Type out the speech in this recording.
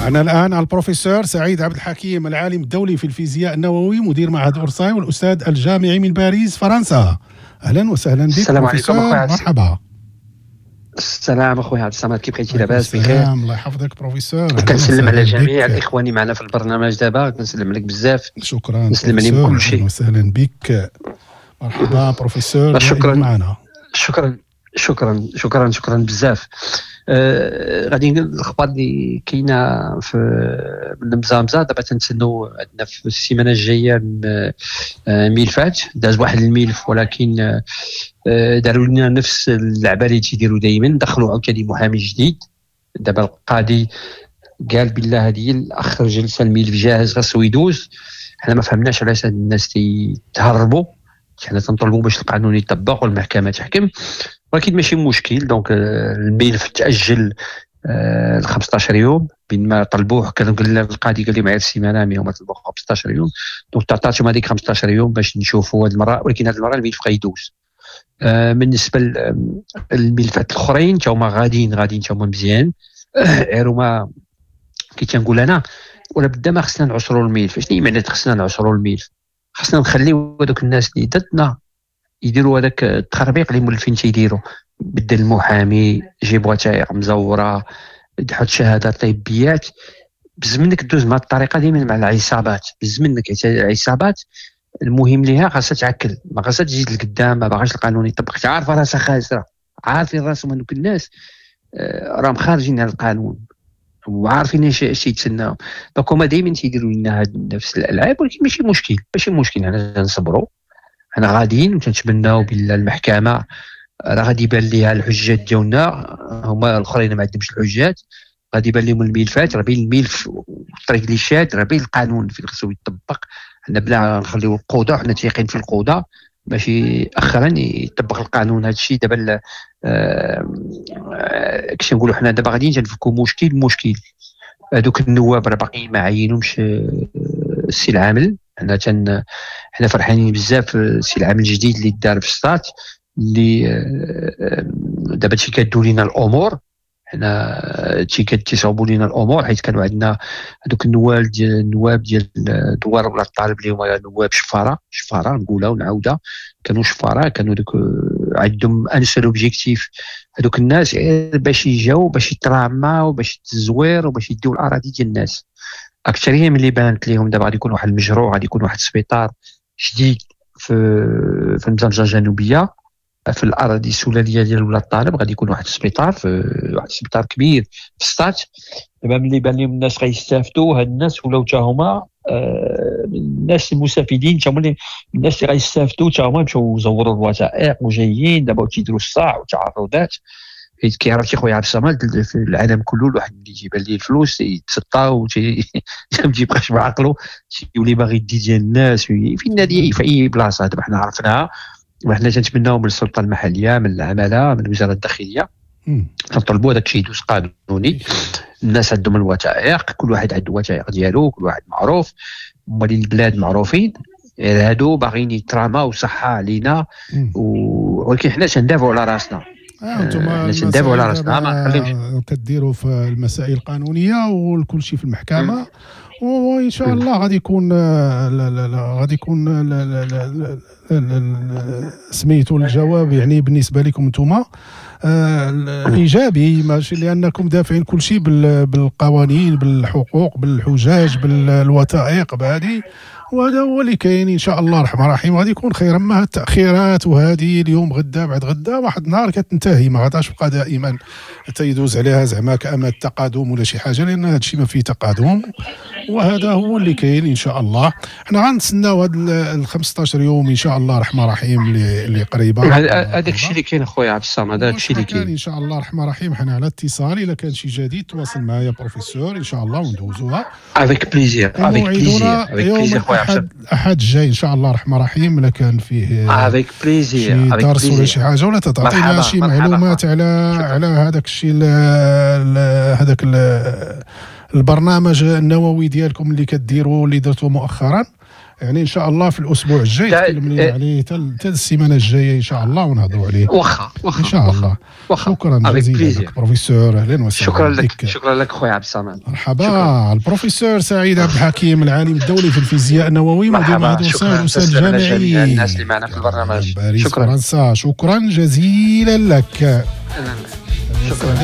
معنا الآن البروفيسور سعيد عبد الحكيم، العالم الدولي في الفيزياء النووي، مدير معهد أورساي والأستاذ الجامعي من باريس فرنسا. أهلا وسهلا بك. السلام عليكم أخويا. مرحبا. السلام اخويا عبد الصمد، كيف بقيتي؟ لاباس بخير؟ الله يحفظك بروفيسور. كنسلم على جميع الاخوان اللي معنا في البرنامج دابا، كنسلم عليك بزاف. شكرا. نسلم عليهم كل شيء. اهلا وسهلا بك، مرحبا بروفيسور. شكرا معنا. شكرا شكرا شكرا شكرا بزاف. غادي الاخبار اللي كاينه في المزامزه دابا، تنتسناو عندنا في السيمانة الجاية ملفات. داز واحد الملف ولكن داروا لنا نفس اللعبة اللي تيديروا دائما، دخلوا عاوتاني محامي جديد. دابا القاضي قال بالله هذه اخر جلسه، الملف جاهز خاصو يدوز. حنا ما فهمناش علاش هاد الناس تيتهربوا، حنا تنطلبوا باش القانون يطبق والمحكمة تحكم، ولكن ماشي مشكل. donc الملف تاجل ل 15 يوم بين ما طلبوه. كانوا قال القاضي قال لي معايا السيمانة، mais هما طلبوه 15 يوم، donc تعطاتهم هذيك 15 يوم باش نشوفوا هذه المرة، ولكن هذه المرة الملف غيدوز. بالنسبة للملفات الاخرين تا هما غاديين تا هما مزيان. غير هما كي تنقول انا ولا بدا ما خصنا نعصروا الملف. شنو معنى خصنا نعصروا الملف؟ خصنا نخليو هذوك الناس اللي ضدنا يديروا هذاك التخربيق اللي مولفين تيديروا، بدل المحامي، جيب وثائق مزوره، حط شهادات طبيات. بز منك دوز مع الطريقة ديما مع العصابات، بز منك العصابات المهم ليها خاصها تعكل، ما خاصها تزيد لقدام، ما باغاش القانون يطبق، عارفه راسها خاسرة، عارفين راسهم هذوك الناس راهم خارجين على القانون وعارفين اش يتسناو. donc هما دائما تيديروا لنا هاد نفس الالعاب، ولكن ماشي مشكل، ماشي مشكل، حنا نصبروا، حنا غاديين وتنتمناو بلا المحكمة راه غادي يبان ليها الحجات ديالنا، هما الاخرين ما عندهمش الحجات، غادي يبان لهم الملفات، راه بين الملف والطريق اللي شاد، راه بين القانون فين خصو يطبق. حنا بلا نخليو القضاء، حنا تيقين في القضاء باش اخرا يطبق القانون. هذا الشيء دابا كيش نقولوا حنا دابا غاديين تنفكوا مشكل هذوك النواب راه باقيين ما عينهمش السي العامل. حنا فرحانين بزاف السي العامل الجديد اللي دار في السطات، اللي دابا تيكادوا لينا الامور، حنا تيصاوبوا لينا الامور، حيت كانوا عندنا هذوك النواب ديال دوار ولا الطالب اللي هما نواب شفاره، شفاره نقولها ونعاودها، كانوا شفاره، كانوا دوك عندهم un seul objectif، هذوك الناس باش يجاو باش يتراماو باش التزوير وباش يديو الاراضي ديال الناس. اكثرية من اللي بانت ليهم دابا غادي يكون واحد المشروع، غادي يكون واحد السبيطار جديد في المزامزه الجنوبية في الاراضي السلاليه ديال ولاد الطالب، غادي يكون واحد السبيطار في واحد السبيطار كبير في السطات. دابا ملي بان لهم الناس غيستافدوا، هاد الناس ولاو تا هما الناس المستفيدين، تا هما الناس اللي غيستافدوا تا هما مشاو زوروا الوثائق وجايين دابا تيديروا الصاع وتعرضات. حيت كيعرف شي خويا عبد الصمد في العالم كله الواحد اللي تيبان ليه الفلوس يتسطا ما تيبقاش بعقلو، تيولي باغي يدي ديال الناس في النادي في اي بلاصة. دابا حنا عرفناها، وحنا تنتمناو من السلطة المحلية، من العمالة، من وزارة الداخلية، تنطلبوا هذاك الشيء يدوز قانوني. الناس عندهم الوثائق، كل واحد عنده الوثائق ديالو، كل واحد معروف، مالين البلاد معروفين. هادو باغيين يتراماو صحة علينا، ولكن حنا تندافعوا على راسنا. انتم تندافعوا على راسنا، ما نخليوش. كديروا في المسائل القانونية والكل شيء في المحكمة، وان شاء الله غادي يكون غادي يكون سميتو الجواب يعني بالنسبة لكم انتم ايجابي، ماشي لانكم دافعين كل شيء بالقوانين، بالحقوق، بالحجاج، بالوثائق بهذه، وهذا هو اللي كاين. ان شاء الله الرحمن الرحيم غادي يكون خير. اما التاخيرات وهذه اليوم غدا بعد غدا واحد النهار كتنتهي، ما غاداش تبقى دائما تيدوز عليها زعما كأما التقادم ولا شي حاجة، لان هذا الشيء ما فيه تقادم، وهذا هو اللي كاين. ان شاء الله حنا غنتسناو هاد ال 15 يوم ان شاء الله الرحمن الرحيم اللي قريبه. هذاك الشيء اللي كاين خويا عبد الصمد، هذاك الشيء اللي كاين ان شاء الله الرحمن الرحيم. حنا على اتصال، الا كان شي جديد تواصل معايا بروفيسور ان شاء الله وندوزوها avec plaisir، avec plaisir، avec plaisir خويا عبد الصمد. الاحد الجاي ان شاء الله الرحمن الرحيم الا كان فيه avec plaisir، شي درس ولا شي حاجة، ولا تعطينا شي معلومات على هذاك الشيء، هذاك البرنامج النووي ديالكم اللي كديروا اللي درتوه مؤخرا. يعني ان شاء الله في الاسبوع الجاي تكلم لنا عليه حتى السيمانة الجاية ان شاء الله ونهضروا عليه. واخا واخا. ان شاء الله. شكرا جزيلا لك بروفيسور، اهلا وسهلا. شكرا لك، شكرا لك خويا عبد الصمد. مرحبا. البروفيسور سعيد عبد الحكيم، العالم الدولي في الفيزياء النووي، مدير معهد وسائل الاستاذ الجامعي الناس اللي معنا في البرنامج. باريس، شكرا. فرنسا. شكرا جزيلا لك. شكرا.